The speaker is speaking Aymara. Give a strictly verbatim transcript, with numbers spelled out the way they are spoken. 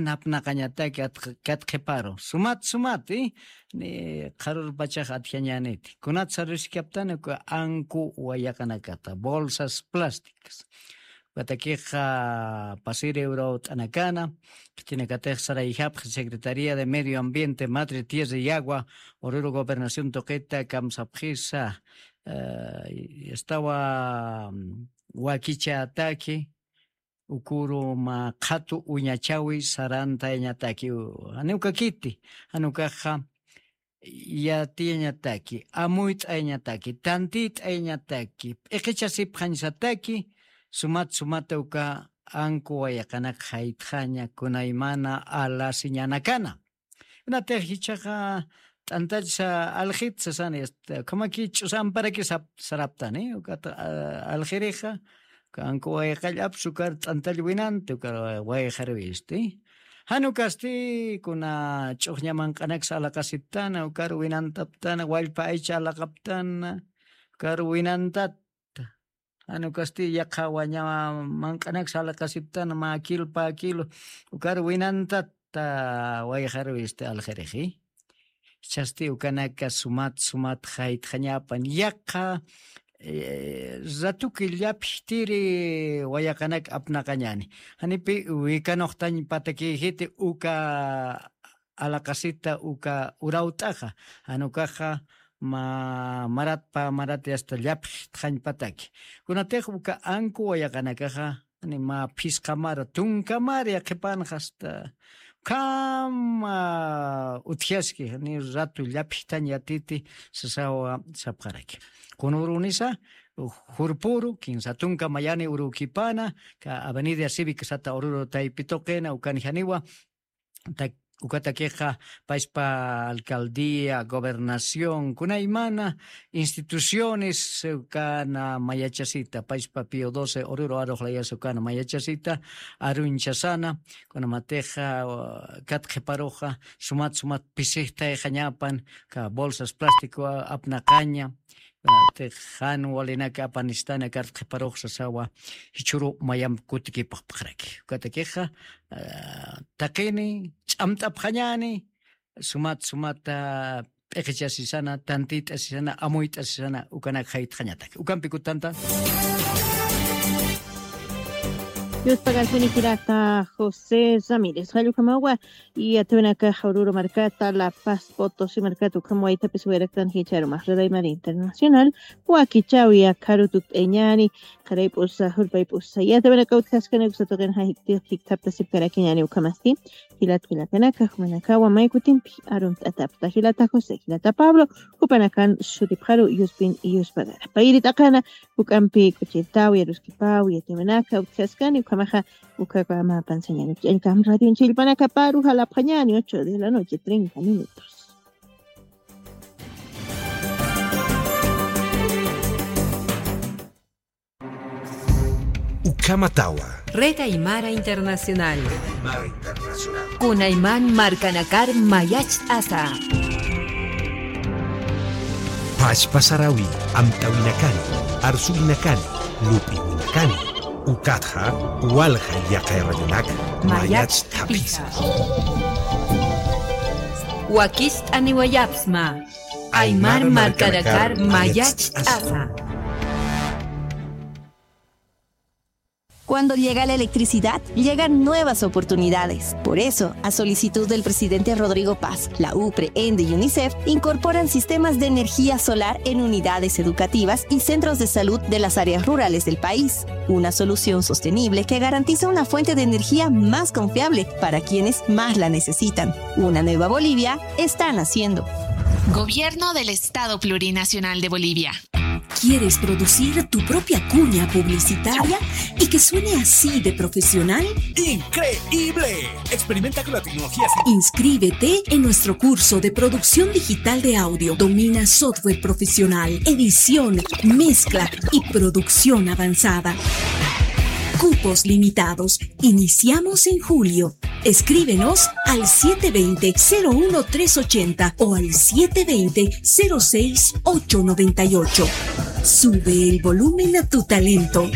apnaqañataki at-, kat qhiparu. Sumat, sumat, ¿eh? Ni qharurpachax atjañäniti. Kunat saririskaptana uka anku wayaqanakata, bolsas plásticas. Ukatakixa pasiri urawt'anakana, khitinakatix sarayjapxi Secretaría de Medio Ambiente, Madre Tierra y Agua, Oruro Gobernación tuqita kamsapxisa, eh, estawa, mm, wakichataki, ukuru mä qhatu uñachawi sarantayañataki, u-, janiw ukakiti, jan ukaxa yatiyañataki, amuyt'ayañataki, tantit'ayañataki, p'iqichasipxañsataki, sumat sumata uka anku wayaqanak jaytxaña kunaymana alasiñanakana. Kunatix jichhaxa t'antallsa aljit sasani, este, ukhamaki ch'usa amparaki sap-, saraptani, ukat, a-, aljirixa, uka anku wayqallapsa ukar t'antall winanti, ukar wayqarwisti. Jan ukasti, kuna ch'uxña manq'anaksa alaqasiptana, ukar winantaptana, wallpa aycha alaqaptana, ukar winantat. Jan ukasti yaqha waña manq'anaksa alaqasiptana, mä kilo, pä kilo, ukar winantata wayqarwisti aljirixi. Jichhasti ukanaka sumat, sumat jaytxañapan. Yaqha, eh, ratuki llapjtiri wayaqanak apnaqañani. Janipi wikanuxtañpatakïjiti uka alaqasita uka urawt'axa, jan ukaxa mä maratpa marat yasta llapjtxañpataki. Kunatix uka anku wayaqanakaxa, jani mä phisqa mara, tunka mara yaqhipanxa hasta ukhama utjaski, jani ratu llapjthañ yatiti sasawa sapxaraki. Kunürunisa, jurpuru, kinsa tunka mayani urukipana, ka Avenida Cívica sata Oruro taypi tuqina, ukan janiwa, ta-, ukatakixa, payspa alcaldía, gobernación, kunaymana instituciones, eh, ukana mayachasita, payspa Pío doce, Oruro arux layasa ukana mayachasita, arunchasana, kunamatixa, uh, kat qhiparuxa, sumat, sumat pisixtayxañapan, ka bolsas plástico a-, apnaqaña, Tix jan walinaka apanistana kat qhiparux sasawa, jichhüru mayamp kutikipax p'aqraki. Ukatakixa, ah, taqini, ch'amt'apxañäni, sumat, sumata p'iqichasisana, tantit'asisana, amuyt'asisana, ukanak jaytxañataki. Ukampi kutanta. Yuspagarpuni jirata José Ramírez. Jallukamawa, yatawinakax Oruro markata, La Paz, Potosí markata, ukham waytapis wayraktan jichharumax Red Aymara Internacional, wakichäwi akharu tukt'ayañäni, qharayp'usa, jurpayp'usa. Yatawinakaw utjaskani uksa tuqin jay jik-, jikthaptasipkarakiñäni ukhamasti. Jilat kullakanaka, jumanakawa may kutimpi arumt'atapxta. Jilata José, jilata Pablo, jupanakan sutipxaru yuspin yuspagara. Payri t'aqana, juk'ampi k'uchirtaw, yaruskipaw, yatawinaka, utjaskani, ukhamaxa, Ukakama pansañani. Ch'añkam radio chillpanakaparu jalapxañani, ocho de la noche, treinta minutos. Ukhamatawa. Red Aymara Internacional. Kunayman markanakar mayacht'asa. Pachpa sarawi, amtawinakani, arsuwinakani, lupiwinakani, ukatxa walja yaqay radionak mayacht'apisa. Wakicht'aniwayapsma. Aymar markanakar mayacht'asa. Cuando llega la electricidad, llegan nuevas oportunidades. Por eso, a solicitud del presidente Rodrigo Paz, la UPRE, ENDE y UNICEF incorporan sistemas de energía solar en unidades educativas y centros de salud de las áreas rurales del país. Una solución sostenible que garantiza una fuente de energía más confiable para quienes más la necesitan. Una nueva Bolivia está naciendo. Gobierno del Estado Plurinacional de Bolivia. ¿Quieres producir tu propia cuña publicitaria y que suene así de profesional? ¡Increíble! Experimenta con la tecnología. Inscríbete en nuestro curso de producción digital de audio. Domina software profesional, edición, mezcla y producción avanzada. Cupos limitados. Iniciamos en julio. Escríbenos al siete veinte, cero uno tres ochenta o al siete veinte, cero seis ocho noventa y ocho. Sube el volumen a tu talento.